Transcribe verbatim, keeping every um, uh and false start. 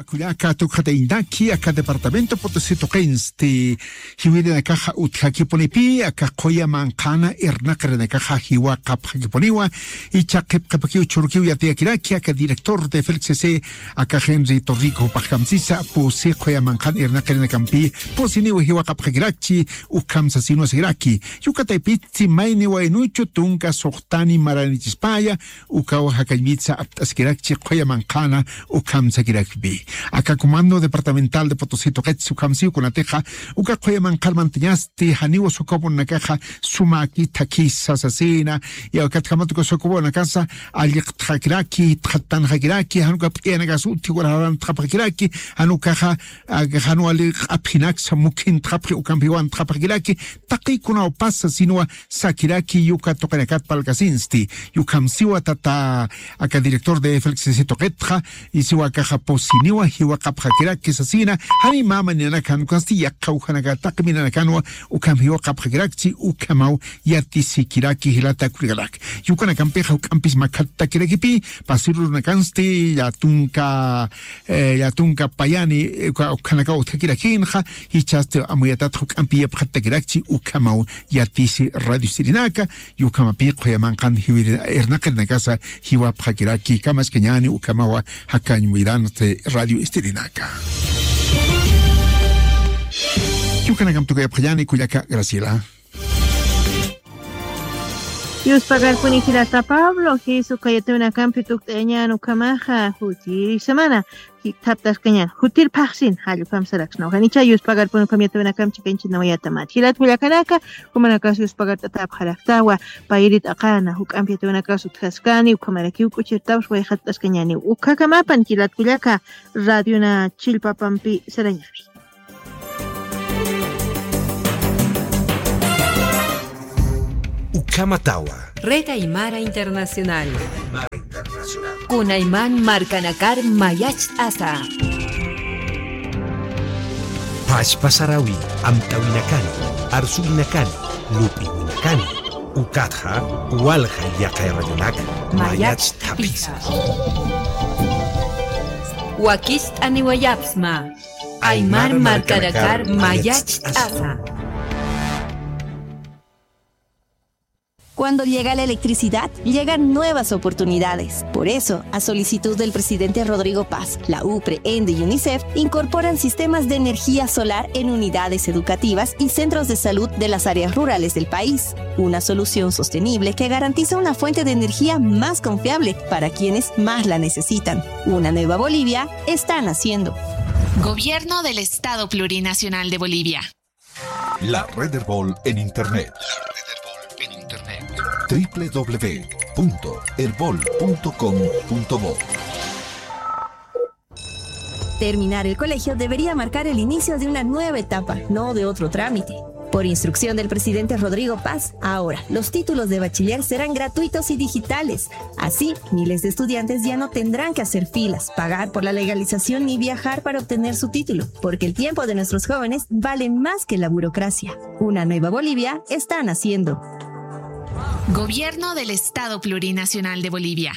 Kullaka tukxatayintaki, aka departamento Potosí tuqinsti jiwirinakaxa utjakipunipi, aka quya manqhana irnaqirinakaxa jiwaqapxakipuniwa, icha qhipqapakiw churkiw yatiyakiraki, aka director de Félix C C, aka Henry Torrico jupax kamsisa, pusi quya manqhan irnaqirinakampi, pusiniw jiwaqapxakirakchi, ukham sasinwa sakiraki, yukataypitsi mayni waynuchu tunka suxtani maranichispaya, ukaw jakañwitsa apt'askirakchi quya manqhana ukham sakirakpi. Aka Comando Departamental de Potosí tuqitsi ukham siw kunatixa, uka quya manqhar mantañasti janiw sukupunakaxa sumaki thakisa sasina, y akatjamatuka sukupunakasa alliqtxakiraki, txattanxakiraki, januka p'iyanakasa utjiwar jarantxapxakiraki, janukaxa, aka jan wali q'apjinaksa mukhintxapxi, ukampiwantxapxakiraki, taqikunaw pasa sinwa sakiraki yuka tuqinakat palkasinsti. Yukham siwa tata aka director de Félix C C tuqitxa, y siwa akaxa pusiniwa jiwaqapxakiraki sasina, jani mama ninanakan ukasti yaqha ujanaka taqi minanakanwa ukham jiwaqapxakirakchi ukhamaw yatisikiraki jilata kullakanak. Yukanakampix juk'ampis makhatakirakipi, pasirurunakansti, llatunka, eh, llatunka payani, eh, uka, ukhanaka utjakirakinxa, jichhasti amuyatat juk'ampi yapxatakirakchi ukhamaw yatisi radio sirinaka, yukhamapi quya manqhan jiwiri-, irnaqirinakasa jiwapxakiraki, kamaskañani ukhamawa jakañwiransti radio istirinaka. Yukanakamp tukuyapxañani kullaka Graciela. Yuspagarpuni jilata Pablo, Jesucristo yatawinakampi tukt'ayañan ukhamaxa, jutiri semana, thaptaskañan, jutir phaxsin, jallukam saraksnaw. Janicha yuspagarpuni ukham yatawinakamp chikañchinawayatamati. Jilat kullakanaka, ukhamarakasa yuspagart'atapxaraktawa, payrit aqana, juk'amp yatawinakas utjaskani, ukhamarakiw k'uchirtapx wayxatt'askañani. Ukhakamapan jilat kullaka, radiona chillpapampi sarañawi. Ukhamatawa. Red Aymara Internacional. Kunayman markanakar mayacht'asa. Pachpa sarawi, amtawinakani, arsuwinakani, lup'iwinakani. Ukatxa, walja yaqha radionak mayacht'apisa. Wakicht'aniwayapxsma. Aymar markanakar mayacht'asa. Cuando llega la electricidad, llegan nuevas oportunidades. Por eso, a solicitud del presidente Rodrigo Paz, la UPRE, ENDE y UNICEF incorporan sistemas de energía solar en unidades educativas y centros de salud de las áreas rurales del país. Una solución sostenible que garantiza una fuente de energía más confiable para quienes más la necesitan. Una nueva Bolivia está naciendo. Gobierno del Estado Plurinacional de Bolivia. La Red Erbol en Internet. La Red Erbol en Internet. W W W punto erbol punto com punto bo. Terminar el colegio debería marcar el inicio de una nueva etapa, no de otro trámite. Por instrucción del presidente Rodrigo Paz, ahora los títulos de bachiller serán gratuitos y digitales. Así, miles de estudiantes ya no tendrán que hacer filas, pagar por la legalización ni viajar para obtener su título, porque el tiempo de nuestros jóvenes vale más que la burocracia. Una nueva Bolivia está naciendo. Gobierno del Estado Plurinacional de Bolivia.